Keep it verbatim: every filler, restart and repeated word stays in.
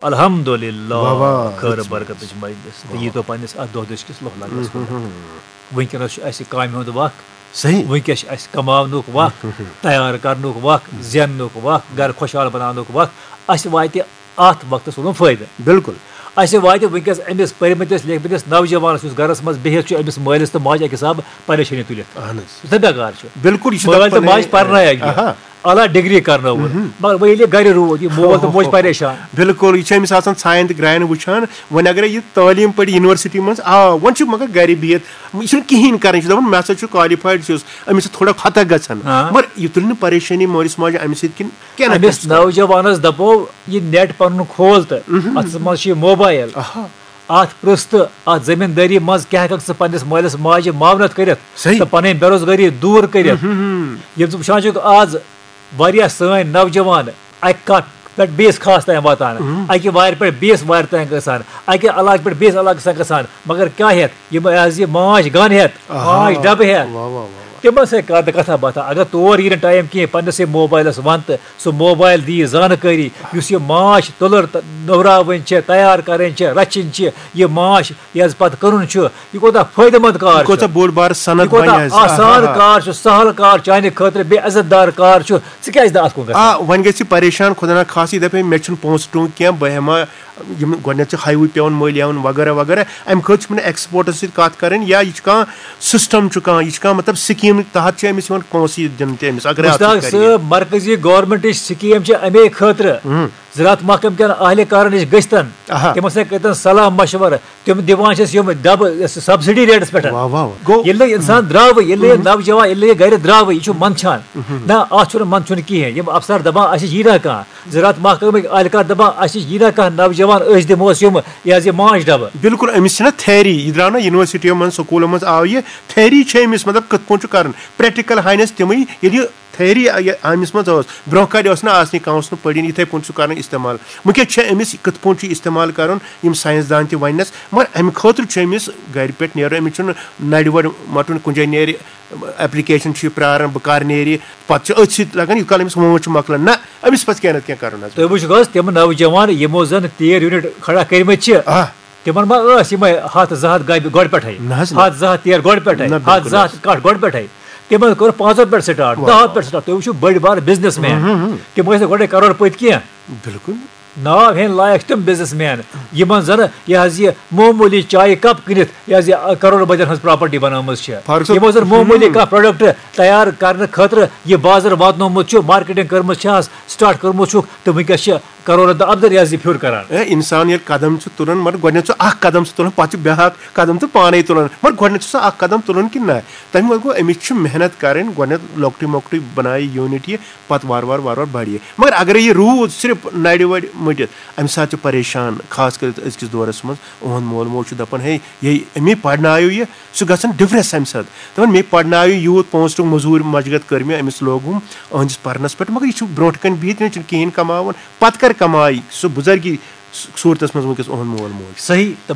الحمدللہ، واہ واہ، خٲر برکتٕچ مجلس۔ تہٕ یی تو پننِس اتھ دۄہ دٔسۍ کِس لوہ لگنس کُن۔ وٕنکیٚنس چھُ اَسہِ کامہِ ہُنٛد وق۔ صحیح۔ وٕنکیٚس چھُ اَسہِ کماونُک وق، تیار کرنُک وق، زیننُک وق، گرٕ خۄشحال بناونُک وق۔ اَسہِ واتہِ اَتھ وقتس روٗدمُت فٲیدٕ۔ بِلکُل۔ اَسہِ واتہِ وٕنکیٚس أمِس پٔرمٕتِس لیکھمٕتِس نوجوانس، یُس گرس منٛز بِہِتھ چھُ، أمِس مٲلِس تہٕ ماجہِ اَکہِ حساب پریشٲنی تُلِتھ۔ اہن حظ۔ یُس نہٕ بیکار چھُ۔ بِلکُل، یہِ چھُ مٲلۍ تہٕ دَپان ماجہِ ہے، پرنایکھ یہِ۔ آہا۔ اعلیٰ ڈگری کرنٲوٕن۔ مگر وۄنۍ ییٚلہِ یہِ گرِ روٗد، یہِ مول تہٕ موج پریشان۔ بِلکُل، یہِ چھُ أمِس آسان ژھایَن تہٕ گرٛایَن وٕچھان۔ وۄنۍ اگرے یہِ تعلیٖم پٔرۍ یونیورسٹی منٛز، آ، وۄنۍ چھُ مگر گرِ بِہِتھ، یہِ چھُنہٕ کِہیٖنۍ کران، یہِ چھُ دَپان، "مےٚ ہسا چھُ qualified چھُس"، أمِس چھِ تھوڑا خطا گژھان۔ آ۔ مگر یہِ تُلہِ نہٕ پریشٲنی مٲلِس ماجہِ اَمہِ سۭتۍ کِنہٕ کینٛہہ نہ أمِس کینٛہہ چھُ کران۔ نوجوانس دَپو، یہِ net پنُن کھول تہٕ اَتھس منٛز چھُ یہِ موبایل۔ آہا۔ اَتھ پرٛژھ تہٕ اَتھ زٔمیٖندٲری منٛز کیٛاہ ہٮ۪کَکھ ژٕ پنٛنِس مٲلِس ماجہِ معاونت کٔرِتھ صحیح۔ تہٕ پنٕنۍ بے روزگٲری دوٗر کٔرِتھ؟ ییٚلہِ ژٕ وٕچھان چھُکھ آز واریاہ سٲنۍ نوجوان اَکہِ کَتھ پٮ۪ٹھ بیٚیِس خاص تام واتان، اَکہِ وارِ پٮ۪ٹھ بیٚیِس وارِ تام گژھان، اَکہِ علاقہٕ پٮ۪ٹھ بیٚیِس علاقَس تام گژھان، مگر کیٛاہ ہٮ۪تھ؟ یِم حظ یہِ ماچھ گَن ہٮ۪تھ، آہا۔ ماچھ ڈَبہٕ ہٮ۪تھ۔ واہ، واہ، واہ، واہ۔ تِمن سۭتۍ کر نہٕ کتھا باتھا۔ اگر تور یی نہٕ ٹایم کینٛہہ، پننسٕے موبایلس ون تہٕ سُہ موبایل دی زانکٲری، یُس یہِ ماچھ تُلر تہٕ نوراوٕنۍ چھِ، تیار کرٕنۍ چھِ، رچھِنۍ چھِ، یہِ ماچھ یہِ حظ پتہٕ کٕنُن چھُ، یہِ کوٗتاہ فٲیدٕ مند کار یہِ چھُ۔ کوٗتاہ بوٚڑ بار صنعت یہِ کوٗتاہ بنہِ حظ۔ آسان آہا۔ کار چھُ، سہل کار، چانہِ خٲطرٕ بیٚیہِ عزت دار کار چھُ۔ ژٕ کیازِ نہٕ اتھ کُن گژھان؟ آ، وۄنۍ گژھِ پریشان خدا نہ خاص، یہِ دپہِ مےٚ چھُنہٕ پونٛسہٕ ٹونٛگ کینٛہہ، بہٕ ہٮ۪مہٕ ہا یِم گۄڈٕنٮ۪تھ چھِ highway پٮ۪وان مٔلۍ ہٮ۪وُن وغیرہ وغیرہ، اَمہِ خٲطرٕ چھِ یِمن expertن سۭتۍ کَتھ کَرٕنۍ، یا یہِ چھُ کانٛہہ system چھُ کانٛہہ، یہِ چھُ کانٛہہ مطلب schemeٕکۍ تحت چھِ أمِس یِوان پونٛسہٕ یہِ دِنہٕ تہِ أمِس، اگر اَتھ مشتاق سۭتۍ کَرِ یہِ۔ صٲب، مرکزی governmentٕچ scheme چھِ اَمے خٲطرٕ۔ زراعت محکمہٕ کٮ۪ن اہلہِ کارن نِش گٔژھتن، آہا۔ تِمن سۭتۍ کٔرۍتن صلاح مشورٕ، تِم دِوان چھِس یِم ڈبہٕ subsidy rateس پٮ۪ٹھ۔ واہ، واہ، واہ۔ گوٚو ییٚلہِ نہٕ اِنسان درٛاوٕے، ییٚلہِ نہٕ یہِ نوجوان، ییٚلہِ نہٕ یہِ گرِ درٛاوٕے، یہِ چھُ منٛدچھان۔ نہ، اَتھ چھُنہٕ منٛدچھُن کِہیٖنۍ۔ یِم افسر دَپان، اَسہِ نِش یی نہ کانٛہہ۔ زراعت محکمٕکۍ اہلکار دَپان، اَسہِ نِش یی نہ کانٛہہ نوجوان، أسۍ دِموس یِم، یہِ حظ یہِ ماچھ ڈَبہٕ۔ بِلکُل، أمِس چھِنہ theory، یہِ درٛاو نہ یونیورسٹیو منٛز، سکوٗلو منٛز آو یہِ، theory چھِ أمِس، مطلب، کِتھ پٲٹھۍ چھُ کَرُن، practical ہاینَس تِمٕے، ییٚلہِ یہِ theory یہِ أمِس منٛز ٲس، برٛونٛہہ کالہِ ٲس نہٕ آسنٕے، کانٛہہ اوس نہٕ پٔرِن، یِتھَے پٲٹھۍ چھُ کَرُن استعمال۔ وٕنکٮ۪س چھِ أمِس یہِ کِتھ پٲٹھۍ چھُ استعمال کَرُن، یِم ساینَس دان تہِ وَننَس، مگر اَمہِ خٲطرٕ چھُ أمِس گَرِ پٮ۪ٹھ نیرُن، أمِس چھُنہٕ نَرِ وَرِ مَٹُن، کُنہِ جایہِ نیرِ، application چھُ یہِ پرٛاران، بہٕ کَر نیرِ، پَتہٕ چھُ أتھۍ سۭتۍ لَگان، یہِ کال أمِس وٲنٛج چھُ مۄکلان، نہ، أمِس پَزِ کینٛہہ نَتہٕ کینٛہہ کَرُن حظ۔ تُہۍ وٕچھِو حظ، تِم نوجوان یِمو زَن تیٖر unit کھڑا کٔرمٕتۍ چھِ، آ۔ تِمَن ما ٲس یِمَے ہَتھ زٕ ہَتھ گَبہِ گۄڈٕ پٮ۪ٹھَے؟ نہ حظ، نہ۔ ہَتھ زٕ ہَتھ تیٖر گۄڈٕ پٮ۪ٹھَے، نہ، ہَتھ بِلکُل زٕ ہَتھ حظ۔ کَٹھ گۄڈٕ پٮ۪ٹھَے۔ تِمَن کوٚر پانٛژَن پٮ۪ٹھ start، واہ، دَہَن واہ۔ پٮ۪ٹھ start۔ تُہۍ وٕچھِو بٔڑۍ بار businessman۔ تِم ٲسۍ نہٕ گۄڈَے کرور پٔتۍ کینٛہہ۔ بِلکُل۔ ناو ہیٚنۍ لایق چھِ تِم businessman، یِمن زن یہِ حظ یہِ معموٗلی چایہِ cup کٕنِتھ یہِ حظ یہِ کرور بٔدین ہٕنٛز property بنٲومٕژ چھِ۔ فاروق صٲب، یِمو زن معموٗلی کانٛہہ product تیار کرنہٕ خٲطرٕ یہِ بازر واتنومُت چھُ، marketing کٔرمٕژ چھِ، start کٔرمُت چھُکھ، تہٕ وٕنکیٚس چھِ کرورن تہٕ اَپدَر یہِ حظ یہِ پھیُر کران۔ اے، انسان ییٚلہِ قدم چھُ تُلان، مگر گۄڈٕنیتھ چھُ اکھ قدم سُہ تُلان، پتہٕ چھُ بیٛاکھ قدم تہٕ پانے تُلان، مگر گۄڈٕنیتھ چھُ سُہ اکھ قدم تُلان کِنہٕ نہ؟ تَمہِ وَتہٕ گوٚو أمِس چھِ محنت کرٕنۍ، گۄڈٕنیتھ لۄکٹُے مۄکٹُے بنایہِ unit یہِ، پتہٕ وارٕ وارٕ وارٕ وارٕ بڑِ یہِ۔ مگر اگرے یہِ روٗد صرف نرِ وڑِ مٔٹِتھ، امہِ ساتہٕ چھُ پریشان، خاص کٔرِتھ أزکِس دورس منٛز۔ اُہُنٛد مول موج چھُ دپان، ہے، یہِ أمی پرنایو یہِ، سُہ گژھان depress امہِ ساتہٕ۔ دپان، مےٚ پرنایو یوٗت، پونٛسہٕ ٹوٚنگ، مٔزوٗرۍ مجگت کٔر مےٚ أمِس لوگُم أہنٛدِس پرنس پٮ۪ٹھ، مگر یہِ چھُ برونٛٹھ کنہِ بِہِتھ، یہِ چھُنہٕ کِہیٖنۍ کماوان۔ پتہٕ کر کمایہِ سُہ بُزرگی صورتس منٛز وٕنکیٚس اُہُنٛد مول موج؟ صحیح، تہٕ